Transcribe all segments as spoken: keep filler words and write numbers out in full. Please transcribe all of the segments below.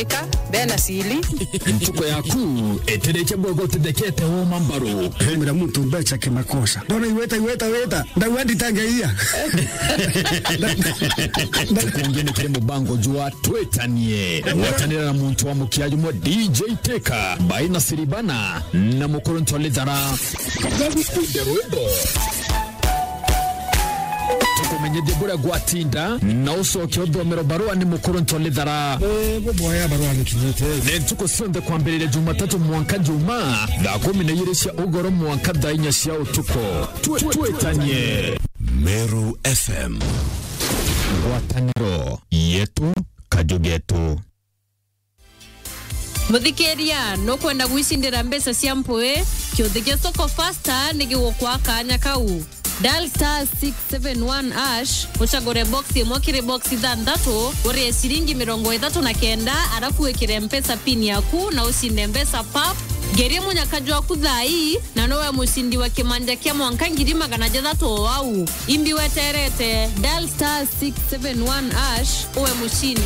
Ika, bena sili. Ntuku yaku itirikia bwega utithekete woma mbaru. Hemera muntu mbeca kimakosa. Ndona iweta, iweta, weta. Ndauga nditangeia. Ntuku ungi ni kiri mubango jwa Twitanie. Gwatanira na muntu wa mukia jumwe D J Teka, Baina Siribana, na Mukuru Ntolithara. Nderu indo. Tukumenyithie buria gwatinda, na ucoke uthomero barua ni Mukuru Ntolithara. Eh, buboya barua ni tunyite. Ni ntuku cionthe kwambiriria Jumatatu mwanka Jumaa, thaa kumi na igiri cia ugoro mwanka thaa inya cia utuku. Twe-, twitanie. Meru F M. Ngwataniro yetu, kaju getu. Muthikiria, nukwenda gwicindira mbeca cia mpui? Kiuthi gia Soko Fasta ni gigukwa kanya kau. Dial star six seven one hash, ucagure box imwe kiri box ithanthatu, urie ciringi mirongo ithatu na kenda, arafu wikire Mpesa pin yaku na ucinde mbeca pap. Ngerie munyaka jwaku thaa ii, na nowe mucindi wa kimanja kia mwanka ngiri magana jathatu o au. Imbi weterete, dial star six seven one hash, uwe mucindi.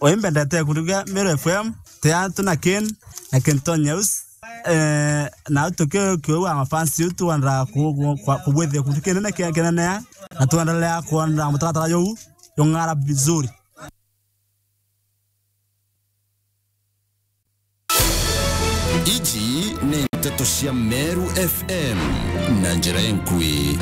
Oi, mbendete kuruga Meru F M, te antu na Ken, na Kenton News. Eh, na tuki-, kiu ama fans yetu twenda ku-, ku-, kwa-, kubwithia kuntu kinene kia, kinene ya, na twendelea kwenda mutaratara juu, jung'ara vizuri. Iji ni nteto cia Meru F M na njira enkui.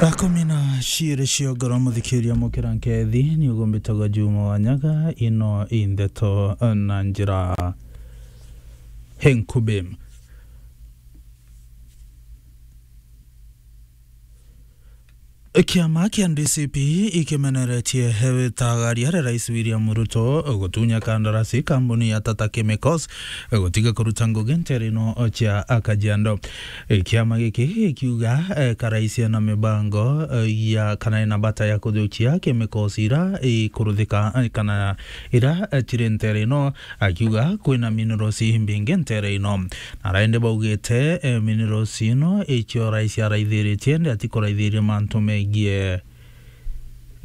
Thaa kumi na ciiri cia ugoro, muthikiria mukira nkethi, ni ugumbitagwa Juma wa Nyaga, ino i nteto na njira enkubi. Kiama kia D C P ikimeneretie witagaria ria Rais William Ruto gutunya kandarasi kambuni ya Tata Chemicals gutiga kuruta ngugi ntere ino cia Kajiado. Kiama giki gikiuga, eh, ka rais ena mibango, eh, ya, kana ena bata ya kuthukia chemicals ira ikuruthika, eh, kana ira, eh, ciri ntere ino, akiuga kwina minerals imbingi ntere ino. Na araende baugite, eh, minerals ino icio rais araithiritie, ndi atikuraithiria mantu megie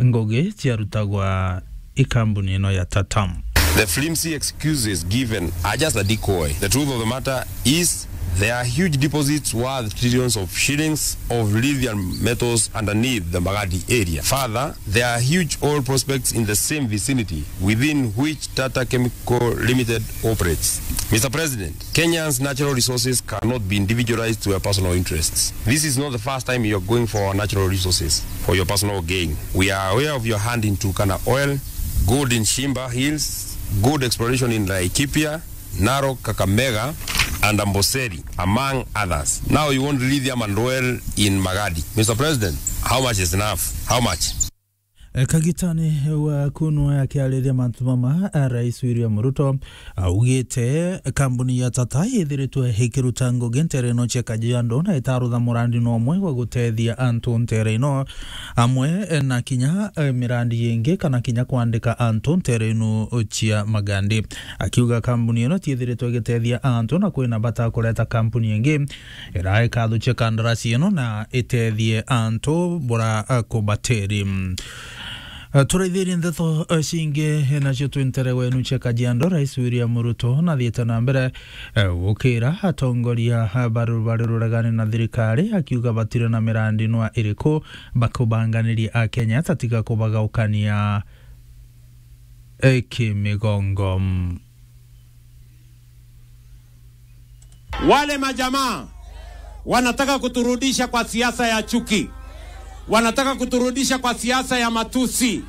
ngugi ciarutagwa i kambuni ino ya Tata. The flimsy excuses given are just a decoy. The truth of the matter is there are huge deposits worth trillions of shillings of lithium metals underneath the Magadi area. Further, there are huge oil prospects in the same vicinity within which Tata Chemical Limited operates. Mister President, Kenya's natural resources cannot be individualized to your personal interests. This is not the first time you are going for our natural resources for your personal gain. We are aware of your hand in Turkana oil, gold in Shimba Hills, gold exploration in Laikipia, Narok, Kakamega, and Amboseli, among others. Now you want lithium and oil in Magadi. Mister President, how much is enough? How much? E, kagitani wa kunwa akiariria mantu mama, a, Rais William Ruto augite kambuni ya Tata ithiritwe ikiruta ngugi ntere ino cia Kajiado na itarutha murandi no umwe wa gutethia antu ntere ino, amwe na kinya, e, mirandi ingi kana kinya kwandika antu ntere ino cia Magadi. Akiuga kambuni ino tiithiritwe igitethia antu na kwina bata kureta kambuni ingi ira ikathukia kandarasi ino na itethie antu bura, eh, kubatiri. Eh, turaithirie ndeto, eh, cingi, eh, nacio twi ntere wenu cia Kajiado, Rais William Ruto nathiite na mbere, eh, gukira atongoria, eh, bari, bari ruregani na thirikari, akiuga batiri na mirandi nwa iriku bakubanganirie Akenya, tatiga kubagaukania, eh, kimigongo. Wale majamaa wanataka kuturudisha kwa siasa ya chuki, wanataka kuturudisha kwa siasa ya matusi,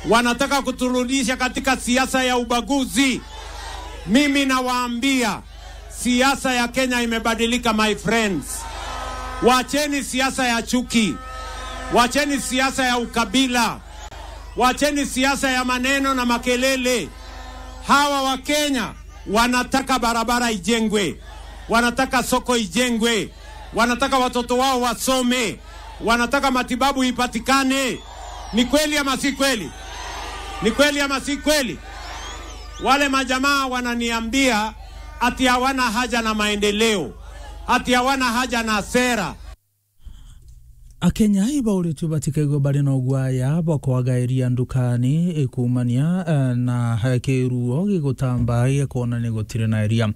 wanataka kuturudisha katika siasa ya ubaguzi. Mimi nawaambia, siasa ya Kenya imebadilika, my friends. Wacheni siasa ya chuki, wacheni siasa ya ukabila. Wacheni siasa ya maneno na makelele. Hawa wa Kenya wanataka barabara ijengwe, wanataka soko ijengwe, wanataka watoto wao wasome, wanataka matibabu ipatikane. Ni kweli ama si kweli? Ni kweli ama si kweli? Wale majamaa wananiambia ati hawana haja na maendeleo, ati hawana haja na sera. Akenya ibauritue batikaigwe bari na ugwaya bwa kwaga iria ndukani, ikumania, eh, na, eh, kiruo gigutamba gia kwona ni gutiri na iria.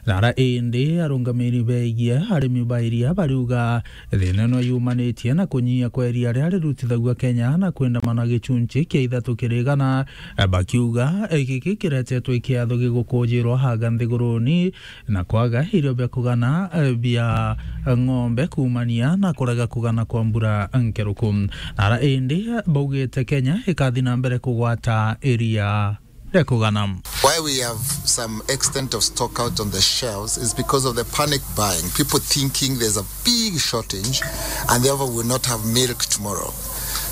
Nara indi arungamiri begie arimi ba iria bariuga thina ino yumanitie na kunyia kwa iria riria rirutithagua Kenya na kwendamana gicunci kia ithatu kiri igana, eh, bakiuga, eh, giki kiretetwe ikiatho gigukujirwa haga nthiguruni na kwaga irio bia kugana, eh, bia ng'ombe kumania na kurega kugana kwa mbura nkeruku. Nara indi, eh, baugite Kenya ikathi na mbere kugwata iria ria kugana. Why we have some extent of stock out on the shelves is because of the panic buying. People thinking there's a big shortage and therefore will not have milk tomorrow.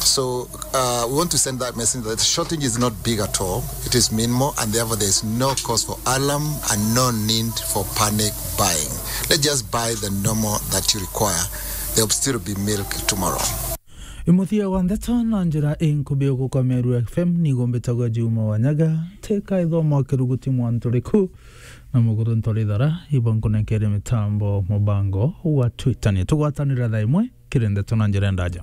So, uh, we want to send that message that the shortage is not big at all. It is minimal, and therefore there is no cause for alarm and no need for panic buying. Let's just buy the normal that you require. There will still be milk tomorrow. Imuthia wa ndeto na njira inkubi uguka Meru F M, nigo mbitagwa Juma Wanyaga, teka ithomo kiruguti mwantu riku, na muguru ntori thara, ibo nkunengere mitambo mubango wa Twitter. Ni tugwatanira thaa imwe kiri ndeto na njira ndaja.